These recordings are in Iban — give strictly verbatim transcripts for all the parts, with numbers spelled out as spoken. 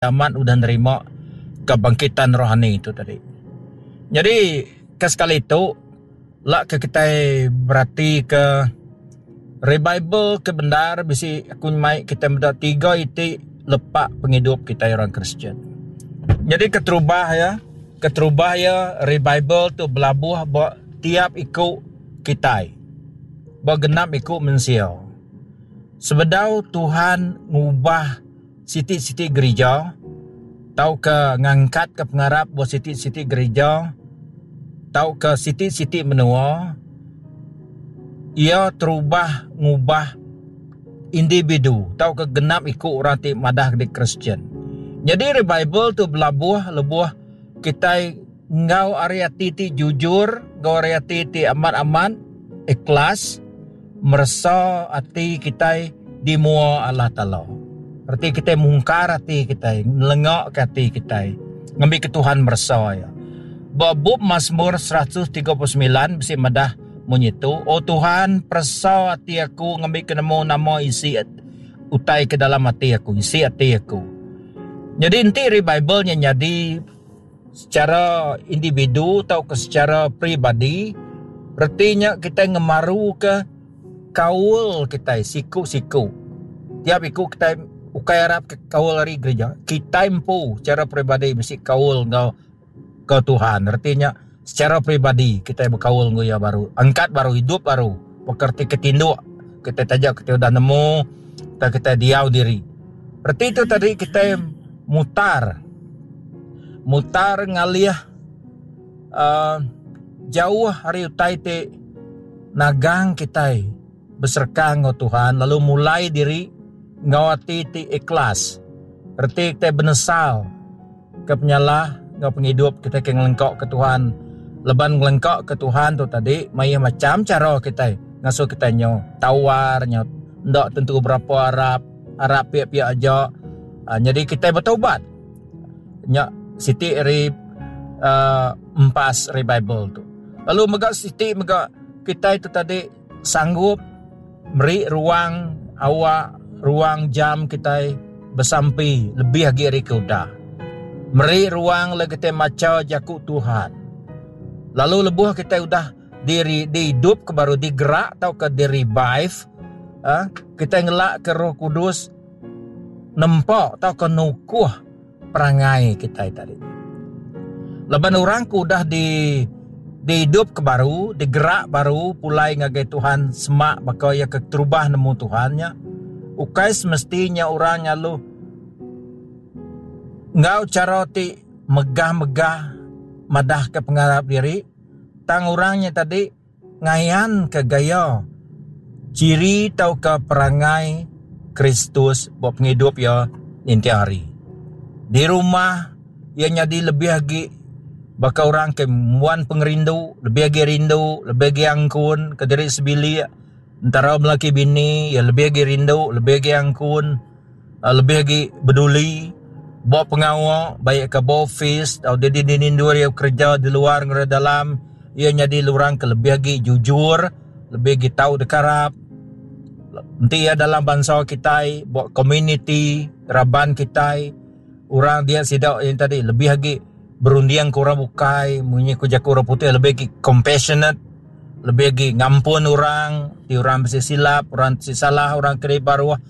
Amat udah nerima kebangkitan rohani tu tadi. Nyadi ke sekali tu lak ke kitai berati ke revival ke bendar bisi aku mai kitai meda tiga iti lepak pengidup kitai orang Kristian. Nyadi keterubah iya, keterubah iya revival tu belabuh ba tiap iku kitai. Ba genap iku mensia. Sebedau Tuhan ngubah siti-siti gerija tauka ngangkatka pengarap ba siti-siti gerija tauka siti-siti menua, iya terubah ngubah individu tauka genap iku orang ti madah diri Kristian. Nyadi revival tu belabuh lebuh kitai enggau ari ati ti jujur, enggau ari ati ti amat-amat ikhlas meresa ati kitai di mua Allah Taala. Reti kitai mungkar ati kitai, nelengaka ati kitai ngambika Tuhan meresa iya. Ba bup Masmur seratus tiga puluh semilan bisi madah munyi tu, O Tuhan, peresa ati aku ngambika nemu nama isi utai ke dalam ati aku, isi ati aku. Nyadi enti revival nya nyadi secara individu tauka secara peribadi, reti nya kitai ngemaruka kaul kitai siku-siku. Tiap iku kitai ukai arap ke kaul ari gerija, kitai empu secara peribadi bisi kaul enggau ke Tuhan. Reti nya secara peribadi kitai bekaul enggau iya baru, angkat baru, idup baru. Baka reti ke tinduk kitai taja kitai udah nemu tang kitai diau diri. Reti tu tadi kitai mutar mutar ngalih uhh jauh ari utai ti nagang kitai besereka enggau Tuhan lalu mulai diri enggau ati ti ikhlas. Reti kitai benesal ke penyalah enggau pengidup kitai ke ngelengka ke Tuhan. Leban ngelengka ke Tuhan tu tadi mayuh macam cara kitai ngasuh kitai nyu tawar nyu enda tentu berapa arap, arap pia-pia aja. Uh, nyadi kitai bertobat. Nya siti ari uh, empas revival tu. Lalu mega siti mega kitai tu tadi sanggup meri ruang awak, ruang jam kitai besampi lebih agi ari ke udah. Meri ruang le kitai macha jaku Tuhan. Lalu lebuh kitai udah diri dihidup ke baru digerak tauka di revive, ah, kitai ngelak ke Roh Kudus nempa tauka nukuh perangai kitai tadi. Laban orang ke udah di dihidup ke baru, digerak baru pulai ngagai Tuhan semak baka ia ke terubah nemu Tuhan nya. Ukai semestinya orang lalu enggau cara ti megah-megah madah ke pengarap diri, tang orangnya tadi ngayan ke gaya ciri tauka perangai Kristus buat pengidup ia ninting hari. Di rumah ia nyadi lebih agi baka orang ke muan pengerindu, lebih agi rindu, lebih agi angkun ke diri sebilik. Entara melaki bini ia lebih agi rindu, lebih agi angkun, lebih agi beduli. Buat pengawa baik ke office atau dia di nindur ia kerja di luar ngera dalam, ia nyadi orang ke lebih agi jujur, lebih agi tahu dekarap. Enti ia dalam bangsa kitai, buat community, raban kitai, orang dia sidak yang tadi lebih agi berunding ke orang bukai, munyi ku jaku orang putih lebih agi compassionate, lebih agi ngampun orang, ti orang bisi silap, orang bisi salah, orang keri baruh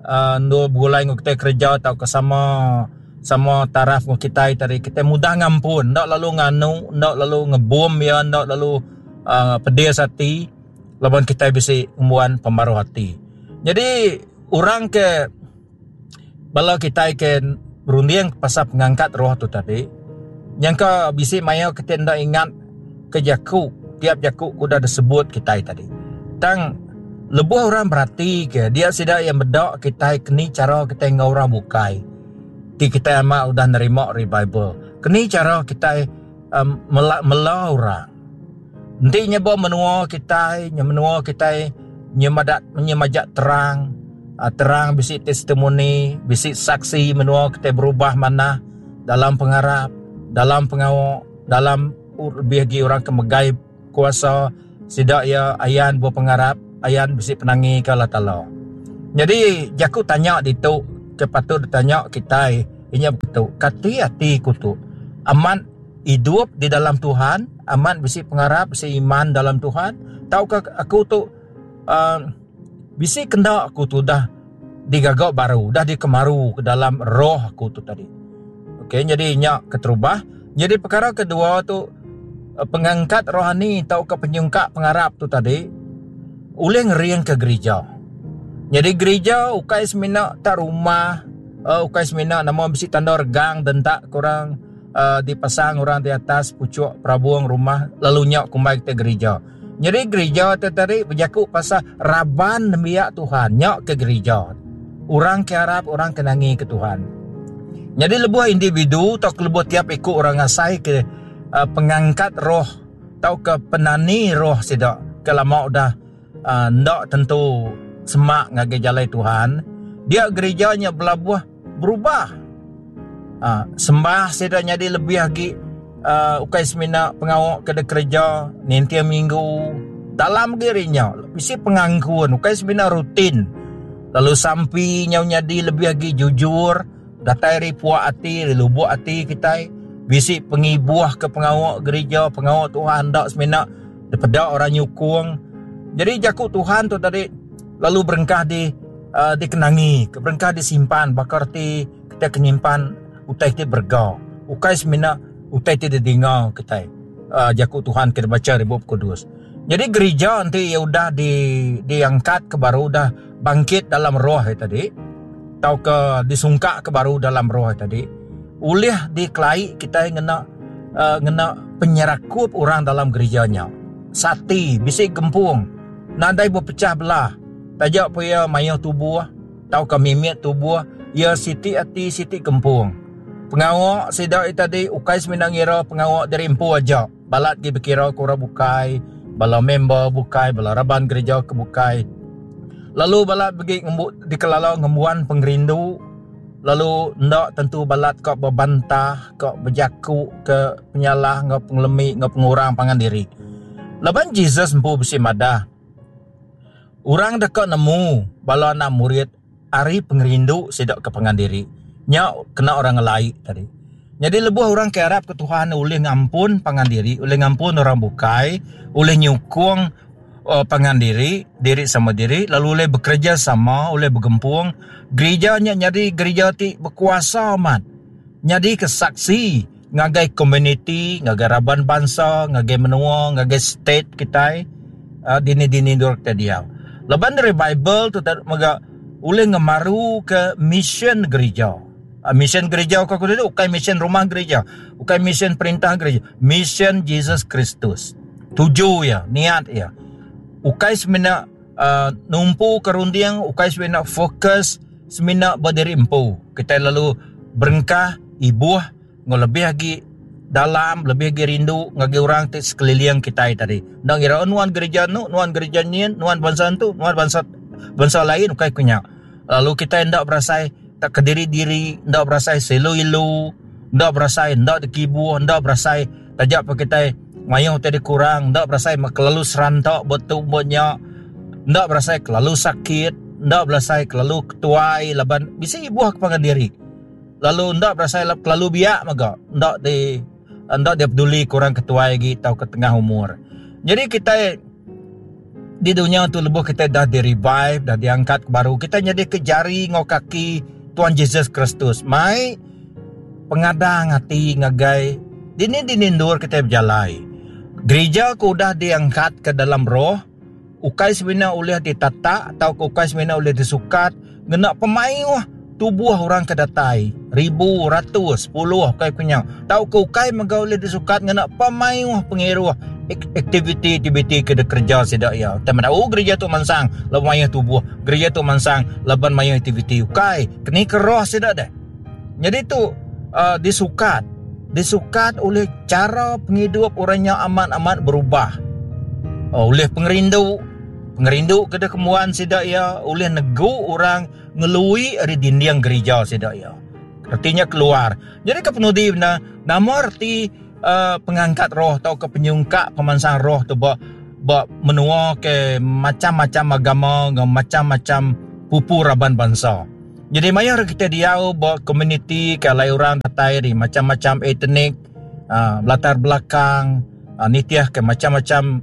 uh, endur begulai ngau kitai kerja tauka sama sama taraf ngau kitai tadi, kitai mudah ngampun, ndak lalu nganu, ndak lalu ngebom ia, ndak lalu uh, pedis hati laban kitai bisi ngembuan pemaruh hati. Jadi orang ke bala kitai ke berunding pasal pengangkat roh tu tadi, nyangka bisi maya kitai ndak ingat ke jaku, tiap jaku udah disebut kitai tadi. Tang lebuh orang berhati ke dia sida yang bedak kitai keni cara kitai enggau orang bukai. Ti kitai amat udah nerima revival. Keni cara kitai um, mela, mela orang. Enti nyebok menua kitai, nya menua kitai nyemadak nyemajak terang, uh, terang bisi testimoni, bisi saksi menua kitai berubah manah dalam pengarap, dalam pengawa, dalam lebih agi orang ke megai kuasa sida ia ayan buah pengarap, ayan bisi penangi ke Allah Taala. Jadi jaku tanya ditu ke patut ditanya kitai Inya begitu. Kati ati ku tu amat hidup di dalam Tuhan, amat bisi pengarap, bisi iman dalam Tuhan, tauka aku tu uh, bisi kenda aku tu dah digaga baru, dah dikemaru ke dalam roh aku tu tadi. Okey, jadi nya keterubah. Jadi perkara kedua tu pengangkat rohani tauka penyungkak pengarap tu tadi ulih ngering ke gereja. Jadi gereja ukai semina tak rumah, uh, ukai semina nama bisi tanda regang dentak kurang uh, dipasang orang di atas pucuk perabung rumah lalu nyak kumbai kita gereja. Jadi gereja tu tadi berjaku pasal raban nembiak Tuhan nyak ke gereja. Orang ke arap, orang ke nangi ke Tuhan. Jadi lebuh individu atau lebuh tiap ikut orang ngasai ke uh, pengangkat roh atau ke penani roh sidak ke lama udah uh, ndak tentu semak ngagai jalai Tuhan, dia gerejanya belabuh berubah. Uh, sembah sidak jadi lebih lagi uh, ukai semina pengawak ke de kerja nintia minggu dalam dirinya bisi pengangkun ukai semina rutin lalu sampi nyau jadi lebih lagi jujur datai ri puak ati ri lubuk ati kita bisi pengibuh ke pengawak gereja pengawak Tuhan dak semina daripada orang nyukung. Jadi jaku Tuhan tu tadi lalu berengkah di uh, dikenangi, berengkah disimpan bakar ti kita kenyimpan utai ti berga. Ukai semina utai ti didengar kita uh, jaku Tuhan kita baca di Bup Kudus. Jadi gereja nanti ya udah di diangkat ke baru dah bangkit dalam roh tadi atau ke disungkak ke baru dalam roh tadi ulih dikelai kita ngena uh, ngena penyerakup orang dalam gerejanya. Sati bisi gempung nadai berpecah belah. Tajak pun ia mayuh tubuh atau ke mimit tubuh ia siti ati siti gempung. Pengawak sidak tadi ukai semina ngira pengawak dari empu aja. Balat gi berkira kura bukai, bala member bukai, bala raban gereja ke bukai. Lalu balat bagi ngembu, dikelala ngembuan pengerindu. Lalu ndak tentu balat kau berbantah, kau berjaku ke penyalah, ngau pengelemi, ngau pengurang pangan diri. Laban Jesus empu besi madah. Orang dekat nemu bala anak murid ari pengerindu sidak ke pangan diri. Nya kena orang ngelai tadi. Jadi lebuh orang ke arap ke Tuhan ulih ngampun pangan diri, ulih ngampun orang bukai, ulih nyukung uh, pangan diri, diri sama diri, lalu ulih bekerja sama, ulih bergempung. Gerejanya jadi gereja ti berkuasa amat. Jadi kesaksi ngagai community, ngagai raban bangsa, ngagai menua, ngagai state kita, uh, dini-dini dur kita dia. Leban dari Bible tu tak mega ulih ngemaru ke mission gereja. Mission gereja aku tu bukan mission rumah gereja, bukan mission perintah gereja, mission Jesus Kristus. Tuju ya, niat ya. Ukai semina uh, numpu ke runding, ukai semina fokus semina berdiri empu. Kita lalu berengkah ibuh ngau lebih lagi dalam, lebih lagi rindu ngagi orang ti sekeliling kita tadi. Ndang kira nuan gereja nu, nuan gereja nyin, nuan bangsa tu, nuan bangsa bangsa lain ukai kunya. Lalu kita ndak berasai tak kediri-diri, ndak berasai selu-ilu, ndak berasai ndak dikibu, ndak berasai tajak pa kita mayuh tadi kurang, ndak berasai kelalu serantak betul buatnya, ndak berasai kelalu sakit, ndak berasai kelalu ketuai laban bisa ibuh kepangan diri. Lalu ndak berasai kelalu biak maga, ndak di ndak dia peduli kurang ketuai lagi atau ke tengah umur. Jadi kita di dunia tu lebuh kita dah di revive, dah diangkat baru, kita jadi ke jari ngau kaki Tuhan Jesus Kristus. Mai pengadang hati ngagai dini dinindur kita berjalai. Gereja ku udah diangkat ke dalam roh, ukai semina ulih ditata atau ukai semina ulih disukat, ngena pemayuh tubuh orang ke datai, ribu, ratus, puluh ukai punya. Tau ke ukai mega ulih disukat ngena pemayuh pengiruh aktiviti-aktiviti ke de kerja sidak ya. Teman oh gereja tu mansang laban mayuh tubuh, gereja tu mansang laban mayuh aktiviti ukai. Keni ke roh sidak deh. Jadi tu uh, disukat, disukat oleh cara penghidup orangnya amat-amat berubah. Oh, oleh pengerindu, pengerindu ke de kemuan sidak ya, oleh negu orang ngelui dari dinding gereja sidak ya. Artinya keluar. Jadi kepenudi benar nama arti Uh, pengangkat roh atau ke penyungkak pemansang roh tu ba, ba menua ke macam-macam agama, macam-macam pupu raban bangsa. Jadi mayar kita diau ba komuniti ke alai orang datai dari macam-macam etnik, uh, latar belakang, uh, nitiah ke macam-macam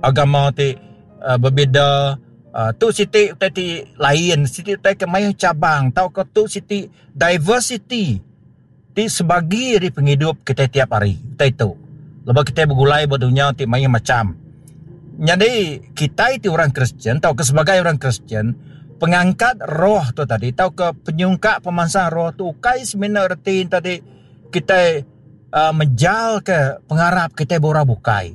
agama ti uh, berbeza. Uh, tu siti utai ti lain, siti utai ke mayuh cabang, tau ke tu siti diversity ti sebagi dari penghidup kita tiap hari. Utai tu. Lepas kita bergulai ba dunia ti mayuh macam. Jadi kita ti orang Kristian tau ke sebagai orang Kristian, pengangkat roh tu tadi tau ke penyungkak pemansang roh tu ukai semina reti tadi kita uh, mejal ke pengarap kita bora bukai.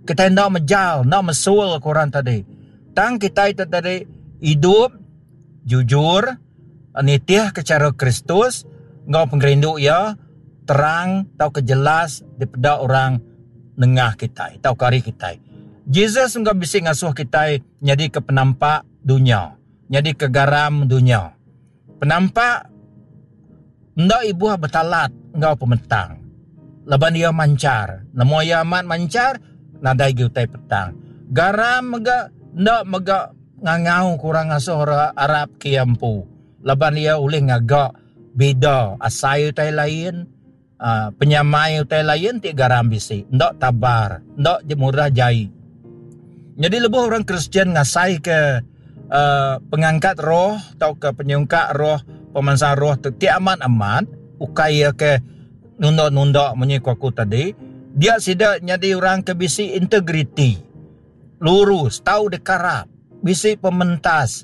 Kita ndak mejal, ndak mesul ke orang tadi. Tang kita itu tadi hidup jujur, nitih ke cara Kristus, ngau pengerindu ya terang tau ke jelas daripada orang nengah kita, tau ke hari kita. Jesus enggak bisa ngasuh kita jadi ke penampak dunia, jadi ke garam dunia. Penampak ndak ibuh bertalat ngau pementang. Laban dia mancar, nemu ia amat mancar, nadai gi utai petang. Garam mega ndak mega ngangau kurang ngasuh orang Arab ke empu. Laban dia ulih ngagak beda asai utai lain, uh, penyamai utai lain ti garam bisi. Ndak tabar, ndak je murah jai. Jadi lebuh orang Kristian ngasai ke uh, pengangkat roh atau ke penyungkak roh, pemansang roh tu ti amat-amat ukai ke nunda-nunda munyi ku aku tadi, dia sida nyadi orang ke bisi integriti, lurus, tau dekarap, bisi pementas,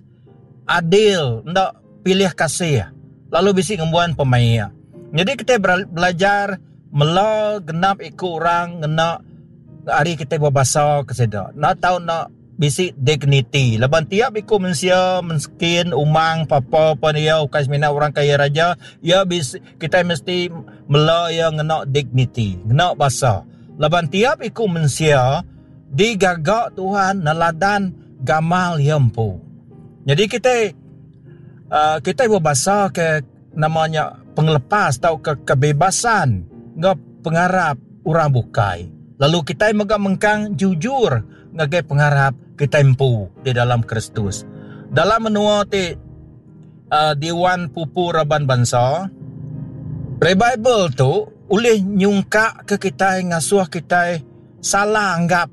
adil, ndak pilih kasih, lalu bisi ngembuan pemaia. Jadi kita belajar mela genap iku orang ngena hari kita berbahasa ke sida. Nak tahu nak bisi dignity. Laban tiap iku manusia miskin, umang, papa pun dia ukai semina orang kaya raja, ya bisi, kita mesti mela ya ngena dignity, ngena bahasa. Laban tiap iku manusia digagak Tuhan neladan gamal ia empu. Jadi kita, uh, kita berbahasa ke namanya penglepas atau ke kebebasan ngap pengarap orang bukai. Lalu kita mega mengkang jujur ngagai pengarap kita empu di dalam Kristus. Dalam menua ti, uh, Dewan Pupu Raban Bangsa, revival tu ulih nyungkak ke kita ngasuh kita salah anggap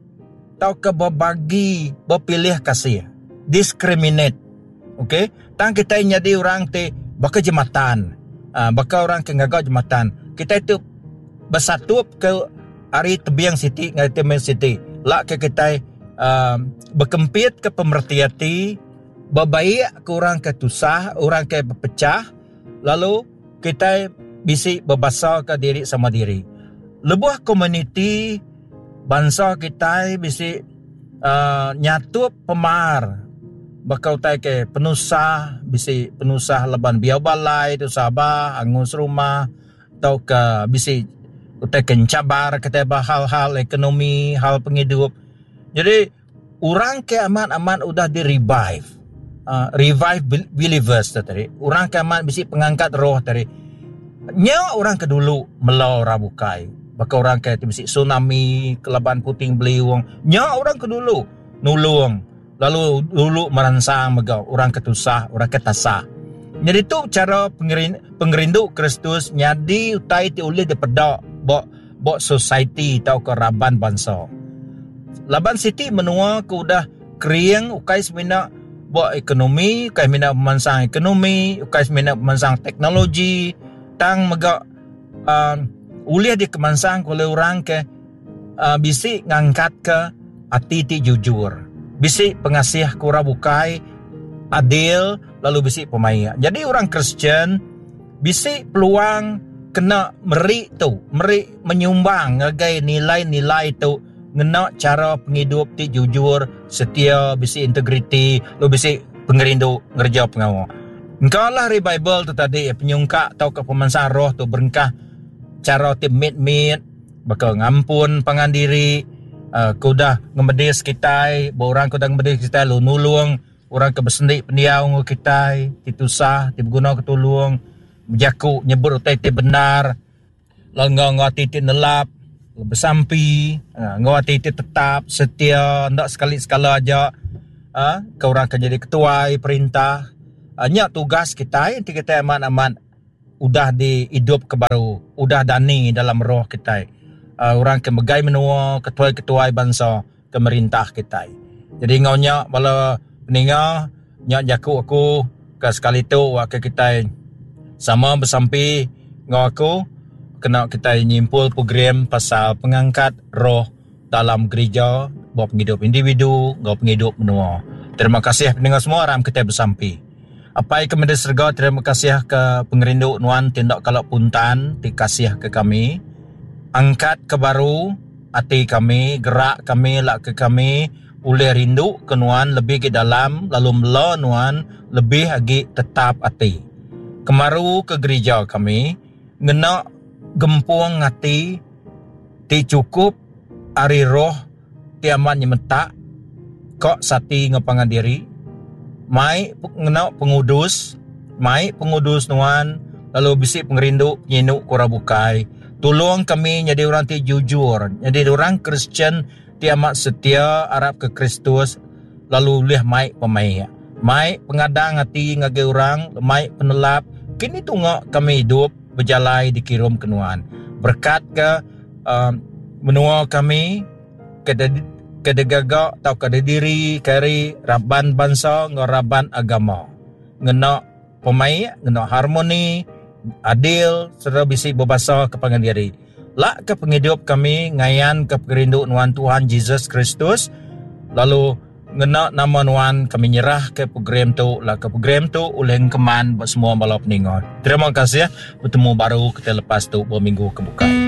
atau ke berbagi berpilih kasih, discriminate. Okey, tang kita jadi orang ti baka jematan, uh, baka orang ke ngagak jematan. Kita itu bersatu ke hari tebiang siti ngai tebiang siti. Lak ke kita, uh, berkempit ke pemerhati, berbaik ke orang ke tusah, orang ke berpecah, lalu kita bisi berbahasa ke diri sama diri. Lebuh komuniti bangsa kita bisi, uh, nyatup pemar bakal tai ke penusah, bisi penusah leban biau balai tu sabah angus rumah atau ke bisi utai kencabar kata bah hal-hal ekonomi, hal penghidup. Jadi orang ke amat-amat udah di revive. Uh, revive believers tu tadi. Orang ke amat bisi pengangkat roh tadi. Nya orang ke dulu melau rabukai. Baka orang ke bisi tsunami, kelaban puting beliung. Nya orang ke dulu nulung. Lalu dulu merangsang mega orang ke tusah, orang ke tasah. Jadi tu cara pengerin-, pengerindu Kristus nyadi utai ti ulih dipedak bok, bok society atau ke raban bangsa. Laban siti menua ke udah kering ukai semina bok ekonomi, ukai semina pemansang ekonomi, ukai semina pemansang teknologi, tang mega, uh, ulih dikemansang oleh orang ke, uh, bisi ngangkat ke ati ti jujur, bisi pengasih ke orang bukai, adil, lalu bisi pemaia. Jadi orang Kristian bisi peluang kena meri tu, meri menyumbang ngagai nilai-nilai tu, ngena cara penghidup ti jujur, setia, bisi integriti, lalu bisi pengerindu ngerja pengawa. Engkaulah revival tu tadi, penyungkak atau ke pemansang roh tu berengkah cara ti mit-mit, bakal ngampun pangan diri, uh, kudah ngemedis kitai, orang kudah ngemedis kitai, lu nulung, orang ke bersendik pendiau ngu kitai, ti tusah, ti berguna ketulung, berjaku nyebut utai ti benar, lalu ngau ngau ati ti nelap, lalu bersampi, ha, ngau ati ti tetap setia, ndak sekali-sekala aja, ha, ke orang ke jadi ketuai perintah, Nya tugas kitai enti kitai amat-amat udah diidup ke baru, udah dani dalam roh kitai. Orang ke megai menua, ketuai-ketuai bansa ke merintah kitai. Jadi enggau nya bala peninga, nya jaku aku ke sekali tu ke kitai sama besampi enggau aku kena kitai nyimpul program pasal pengangkat roh dalam gereja ba pengidup individu enggau pengidup menua. Terima kasih peninga semua, aram kitai besampi. Apai kami di serega, terima kasih ke pengerindu nuan ti enda kala puntan ti kasih ke kami. Angkat ke baru ati kami, gerak kami, lak ke kami ulih rindu ke nuan lebih ke dalam lalu mela nuan lebih agi tetap ati. Kemaru ke gereja kami ngena gempung ati ti chukup ari roh ti amat nyemetak kok sati ngepangan diri. Mai ngena pengudus, mai pengudus nuan lalu bisi pengerindu penyinu ke orang bukai. Tolong kami jadi orang ti jujur, jadi orang Kristian ti amat setia arap ke Kristus lalu ulih mai pemaik, mai pengadang ati ngagai orang, mai penelap. Kini tunga kami hidup berjalai dikirum ke nuan. Berkat ke uh, menua kami ke kedegaga atau kedediri kari raban bangsa ngau raban agama. Ngena pemaik, ngena harmoni, adil serta bisi berbahasa ke pangan diri. Lak ke penghidup kami ngayan ke pengerindu nuan Tuhan Jesus Kristus, lalu ngena nama nuan kami nyerah ke program tu, lak ke program tu oleh engkeman buat semua bala peningat. Terima kasih, bertemu baru kita lepas tu berminggu ke bukai.